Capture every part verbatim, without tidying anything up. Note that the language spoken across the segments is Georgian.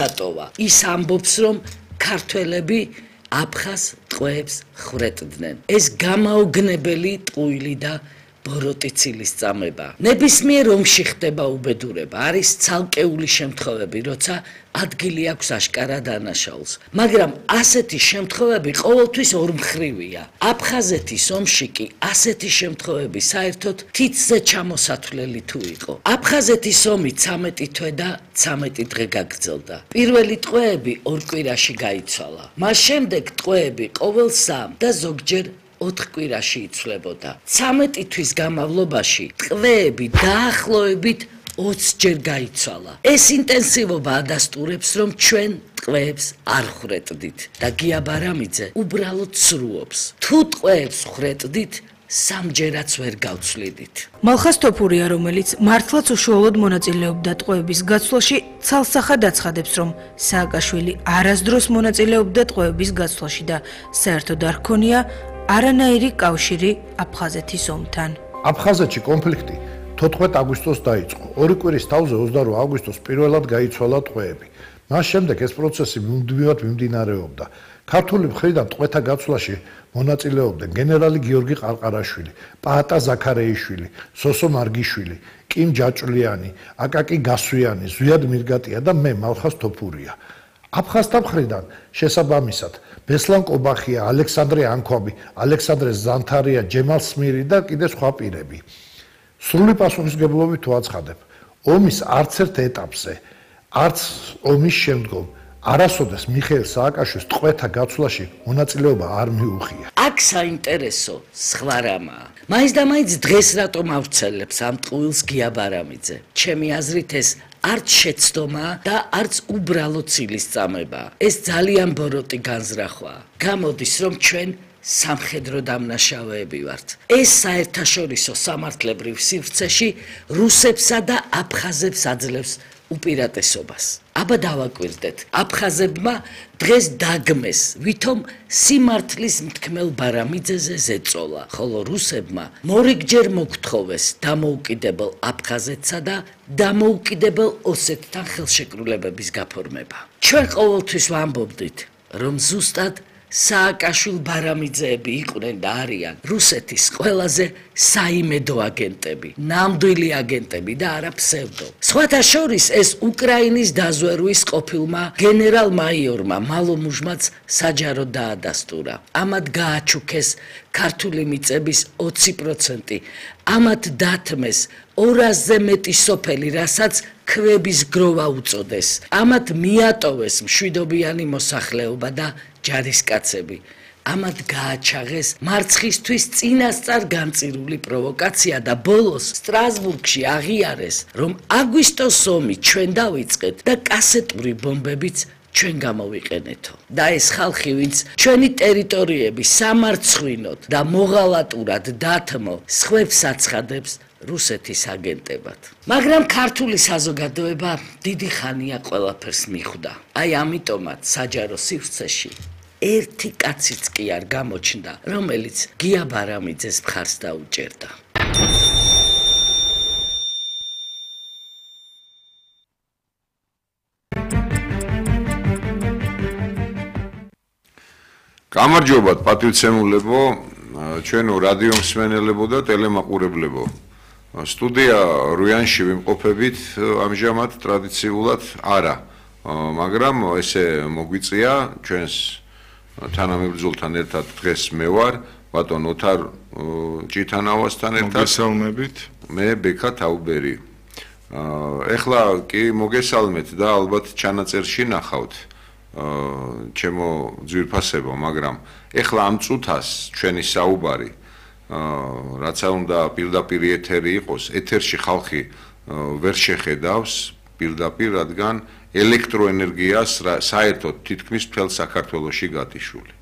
დატოვა. ის ამბობს, რომ ქართველები აფხაზ ტყვეებს ხრეტდნენ. ეს გამაოგნებელი ტყუილი და ბოროტიცილის წამება. ნებისმიერ ომში ხდება უბედურება, არის ცალკეული შემთხვევები, როცა ადგილი აქვს აშკარა დანაშაულს. მაგრამ ასეთი შემთხვევები ყოველთვის ორმხრივია. აფხაზეთის ომში კი ასეთი შემთხვევები საერთოდ თითზე ჩამოსათვლელი თუ იყო. აფხაზეთის ომი ცამეტი თვე და ცამეტი დღე გაგრძელდა. პირველი ტყვეები ორ კვირაში გაიცვალა. მას შემდეგ ტყვეები ყოველ სამ და ზოგჯერ ოთხ კვირაში იცვლებოდა. ცამეტი თვის განმავლობაში ტყვეები დაახლოებით ოცჯერ გაიცვალა. ეს ინტენსივობა ადასტურებს, რომ ჩვენ ტყვეებს არ ხრეტდით და გია ბარამიძე უბრალოდ სრულობს. თუ ტყვეებს ხრეტდით, სამჯერაც ვერ გავცვლიდით. მალხაზ თოფურია, რომელიც მართლაც უშუალოდ მონაწილეობდა ტყვეების გაცვლაში, ცალსახად აცხადებს, რომ სააკაშვილი არასდროს მონაწილეობდა ტყვეების გაცვლაში და საერთოდ არ ჰქონია არანაირი კავშირი აფხაზეთის ომთან. აფხაზეთში კონფლიქტი თოთხმეტ აგვისტოს დაიწყო. ორი კვირის თავზე ოცდაორი აგვისტოს პირველად გაიცვალა ტყვეები. მას შემდეგ ეს პროცესი მუდმივად მიმდინარეობდა. ქართული მხრიდან ტყვეთა გაცვლაში მონაწილეობდნენ გენერალი გიორგი ყარყარაშვილი, პაატა ზაქარეიშვილი, სოსო მარგიშვილი, კიმ ჯაჭვლიანი, აკაკი გასვიანი, ზვიად მირგატია და მე მალხაზ თოფურია. აფხაზთა მხრიდან შესაბამისად ბესლან კობახია, ალექსანდრე ანქვაბი, ალექსანდრე ზანთარია, ჯემალ სმირი და კიდე სხვა პირები. სრული პასუხისმგებლობით ვაცხადებ, ომის არც ერთ ეტაპზე, არც ომის შემდგომ არასოდეს მიხეილ სააკაშვილის ტყვეთა გაცვლაში მონაწილეობა არ მიუღია. აქ საინტერესო სხვა რამაა. მაინც და მაინც დღეს რატომ ავრცელებს ამ ტყუილს გია ბარამიძე? ჩემი აზრით ეს არც შეცდომაა და არც უბრალო ცილის წამებაა. ეს ძალიან ბოროტი განზრახვაა. გამოდის, რომ ჩვენ სამხედრო დამნაშავეები ვართ. ეს საერთაშორისო სამართლებრივ სივრცეში რუსებსა და აფხაზებს აძლევს უპირატესობას. აბა დავაკვირდეთ, აფხაზებმა დღეს დაგმეს, ვითომ სიმართლის მთქმელ ბარამიძეზე ზეწოლა, ხოლო რუსებმა მორიგჯერ მოგთხოვეს დამოუკიდებელ აფხაზეთსა და დამოუკიდებელ ოსეთთან ხელშეკრულებების გაფორმება. ჩვენ ყოველთვის ვამბობდით, რომ ზუსტად სააკაშვილ ბარამიძეები იყვნენ და არიან რუსეთის ყველაზე საიმედო აგენტები, ნამდვილი აგენტები და არა ფსევდო. სხვათა შორის ეს უკრაინის დაზვერვის ყოფილმა გენერალ-მაიორმა მალომუჟმაც საჯაროდ დაადასტურა. ამათ გააჩუქეს ქართული მიწების ოცი პროცენტი, ამათ დათმეს ორასზე მეტი სოფელი, რასაც ქვების გროვა უწოდეს. ამათ მიატოვეს მშვიდობიანი მოსახლეობა და ჯარისკაცები. ამათ გააჩაღეს მარცხისთვის წინასწარ განწირული პროვოკაცია და ბოლოს სტრასბურგში აღიარეს, რომ აგვისტოს ომი ჩვენ დავიწყეთ და კასეტური ბომბებიც ჩვენ გამოვიყენეთო. და ეს ხალხი, ვინც ჩვენი ტერიტორიები სამარცხვინოთ და მოღალატურად დათმო, სხვებს აცხადებს რუსეთის აგენტებად. მაგრამ ქართული საზოგადოება დიდი ხანია ყველაფერს მიხვდა. აი ამიტომაც საჯარო სივრცეში ერთი კაციც კი არ გამოჩნდა, რომელიც გია ბარამიძეს მხარს დაუჭერდა. გამარჯობათ პატივცემულებო, ჩვენო რადიო მსმენელებო და ტელემაყურებლებო. სტუდია რუიანში ვიმყოფებით ამჟამად ტრადიციულად არა, მაგრამ ესე მოგვიწია ჩვენს თანამებრძოლთან ერთად დღეს მე ვარ, ბატონ ოთარ ჭითანავასთან ერთად. მოგესალმებით. მე ბექა თაუბერი. ეხლა კი მოგესალმეთ და ალბათ ჩანაწერში ნახავთ ჩემო ძვირფასებო, მაგრამ ეხლა ამ წუთას ჩვენი საუბარი რაცა უნდა პირდაპირ ეთერი იყოს, ეთერში ხალხი ვერ შეხედავს პირდაპირ, რადგან ელექტროენერგიას საერთოდ თითქმის მთელ საქართველოში გათიშული.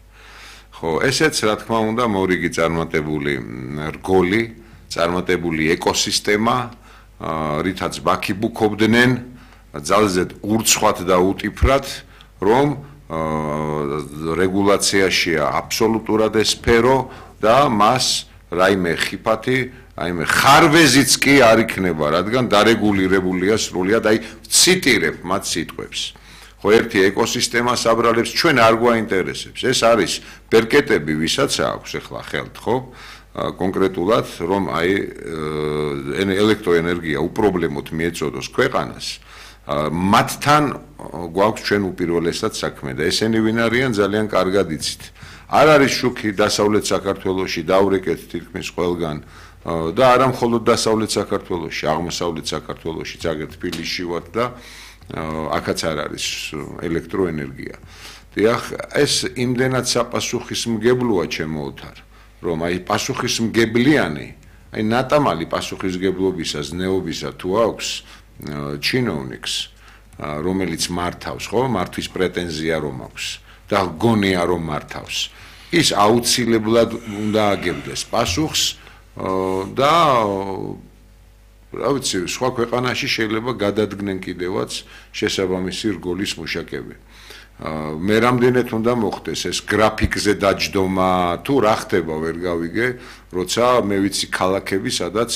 ხო, ესეც რა თქმა უნდა მორიგი წარმატებული რგოლი, წარმატებული ეკოსისტემა, რითაც ბაქიბუქობდნენ ძალზედ ურცხვად და უტიფრად, რომ რეგულაციაშია აბსოლუტურად ეს სფერო და მას რაიმე ხიფათი, რაიმე ხარვეზიც კი არ იქნება, რადგან დარეგულირებულია სრულიად, აი ვციტირებ მათ სიტყვებს. ხო ერთი ეკოსისტემას აბრალებს, ჩვენ არ გვაინტერესებს. ეს არის ბერკეტები, ვისაც აქვს ახლა ხელთ, ხო? კონკრეტულად, რომ აი ელექტროენერგია უპრობლემოდ მიეწოდოს ქვეყანას, მათთან გვაქვს ჩვენ უპირველესად საქმე და ესენი ვინ არიან ძალიან კარგად იცით. არ არის შუქი დასავლეთ საქართველოში, დავრეკეთ თითქმის ყველგან და არა მხოლოდ დასავლეთ საქართველოში, აღმოსავლეთ საქართველოში, ზოგადად თბილისში ვართ და აქაც არ არის ელექტროენერგია. დიახ, ეს იმდენად საპასუხისმგებლოა ჩემო ოთარ, რომ აი პასუხისმგებლიანი, აი ნატამალი პასუხისმგებლობისა, ზნეობისა თუ აქვს ჩინოვნიკს, რომელიც მართავს, ხო, მართვის პრეტენზია რომ აქვს და გონია რომ მართავს, ის აუცილებლად უნდა აგებდეს პასუხს და რა ვიცი, სხვა ქვეყანაში შეიძლება გადადგნენ კიდევაც შესაბამისი რგოლის მუშაკები. მე რამდენად უნდა მოხდეს ეს გრაფიკზე დაჯდომა თუ რა ხდება ვერ გავიგე, როცა მე ვიცი ქალაქები, სადაც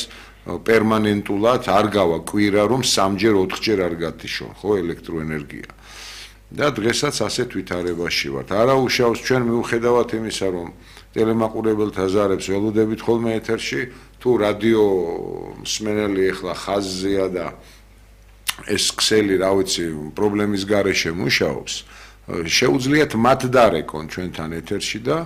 პერმანენტულად არ გავა კვირა რომ სამჯერ ოთხჯერ არ გათიშონ, ხო, ელექტროენერგია. და დღესაც ასეთ ვითარებაში ვართ. არა უშავს ჩვენ მიუხედავად იმისა, რომ ტელემაყურებელთა ზარებს ველოდებით ხოლმე ეთერში, თუ რადიო მსმენელი ახლა ხაზზეა და ეს ქსელი, რა ვიცი, პრობლემის გარეშე მუშაობს, შეუძლიათ მათ დარეკონ ჩვენთან ეთერში და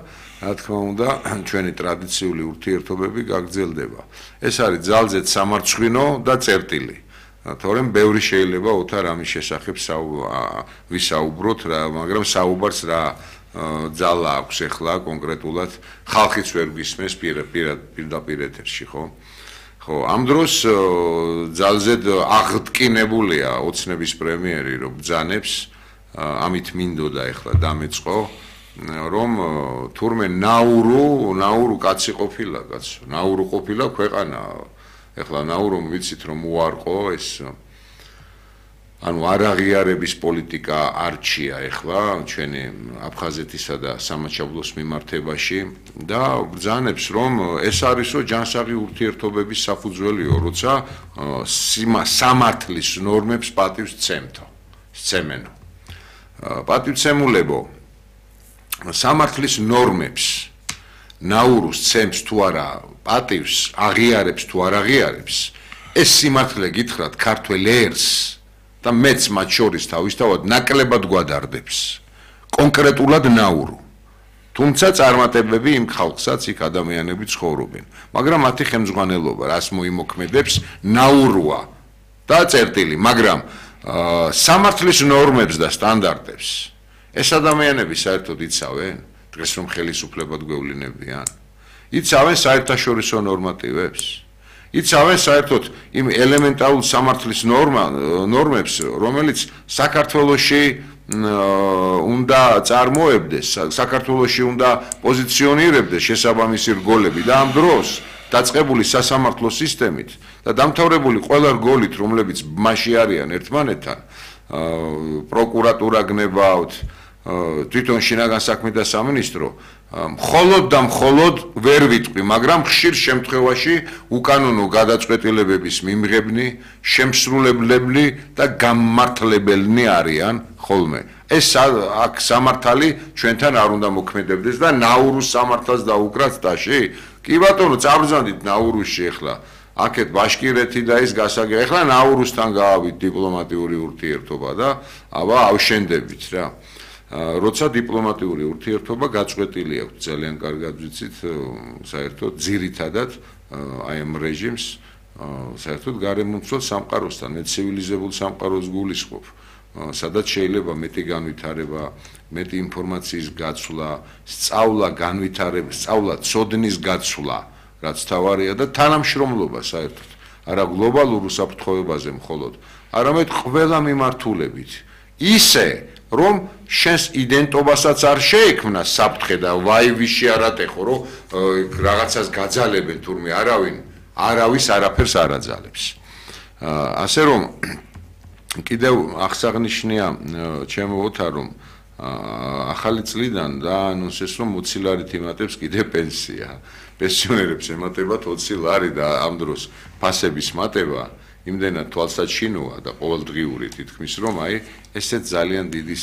რა თქმა უნდა, ჩვენი ტრადიციული ურთიერთობები გაგრძელდება. ეს არის ძალზედ სამარცხვინო და წერტილი. თორემ ბევრი შეიძლება ოთარ ამის შესახებ ვისაუბროთ, მაგრამ საუბარს რა ძალა აქვს ახლა კონკრეტულად ხალხიც ვერ გისმენს პირდაპირ ეთერში, ხო? ხო, ამ დროს ძალზედ აღტკინებულია ოცნების პრემიერი, რომ ბრძანებს, ამით მინდოდა ახლა დამეწყო, რომ თურმე ნაურო, ნაურო კაცი ყოფილა, კაცო, ნაურო ყოფილა ქვეყანა. ახლა ნაურომ ვიცით რომ უარყო ეს ანუ არაღიარების პოლიტიკა არჩია ახლა ჩვენი აფხაზეთისა და სამაჩაბლოს მიმართებაში და ბრძანებს რომ ეს არისო ჯანსაღი ურთიერთობების საფუძველიო, როცა სამართლის ნორმებს პატივს ცემთო, სცემენო. პატივცემულებო სამართლის ნორმებს ნაურუს ცემს თუ არა პატივს აღიარებს თუ არ აღიარებს ეს სიმართლე გითხრათ ქართველ ერს და მეც მათ შორის თავისთავად ნაკლებად გვადარდებს კონკრეტულად ნაურო თუმცა წარმატებები იმ ხალხსაც იქ ადამიანები ცხოვრობენ მაგრამ მათი ხელმძღვანელობა რას მოიმოქმედებს ნაუროა და წერტილი მაგრამ სამართლის ნორმებს და სტანდარტებს ეს ადამიანები საერთოდ იცავენ დღეს რომ ხელისუფლებად გვევლინებიან იცავენ საერთაშორისო ნორმატივებს იცავენ საერთოდ იმ ელემენტარულ სამართლის ნორმებს რომელიც საქართველოში უნდა წარმოებდეს საქართველოში უნდა პოზიციონირებდეს შესაბამისი რგოლები და ამ დროს დაწყებული სასამართლო სისტემით და დამთავრებული ყველა რგოლით რომლებიც მასში არიან ერთმანეთთან პროკურატურა გნებავთ თვითონ შინაგან საქმეთა სამინისტრო მხოლოდ და მხოლოდ ვერ ვიტყვი, მაგრამ ხშირ შემთხვევაში უკანონო გადაწყვეტილებების მიმღებნი, შემსრულებლები და გამმართლებელნი არიან ხოლმე. ეს აქ სამართალი ჩვენთან არ უნდა მოქმედებდეს და ნაურუს სამართალს დაუკრათ ტაში. კი ბატონო, წაბრძანდით ნაურუსში ახლა. აქეთ ბაშკირეთი და ის გასაგები. ახლა ნაურუსთან გაავით დიპლომატიური ურთიერთობა და აბა ავშენდებით რა. როცა დიპლომატიური ურთიერთობა გაწყვეტილი აქვს ძალიან კარგად ვიცით საერთოდ ძირითადად აი ამ რეჟიმს საერთოდ გარემომცველ სამყაროსთან მე ცივილიზებულ სამყაროს გულისხმობ სადაც შეიძლება მეტი განვითარება მეტი ინფორმაციის გაცვლა სწავლა განვითარება სწავლა ცოდნის გაცვლა რაც თავარია და თანამშრომლობა საერთოდ არა გლობალურ უსაფრთხოებაზე მხოლოდ არამედ ყველა მიმართულებით ისე რომ შენს იდენტობასაც არ შეექმნა საფრთხე და ვაივიში არ ატეხო რომ რაღაცას გაძალებენ თურმე არავინ არავის არაფერს არ აძალებს ასე რომ კიდევ აღსანიშნია ჩემო ოთარ რომ ახალი წლიდან და ანონსეს რომ ოცი ლარით იმატებს კიდე პენსია პენსიონერებს ემატებათ ოცი ლარი და ამ დროს ფასების მატება იმდენად თვალსაჩინოა და ყოველდღიური თითქმის რომ აი ესეც ძალიან დიდი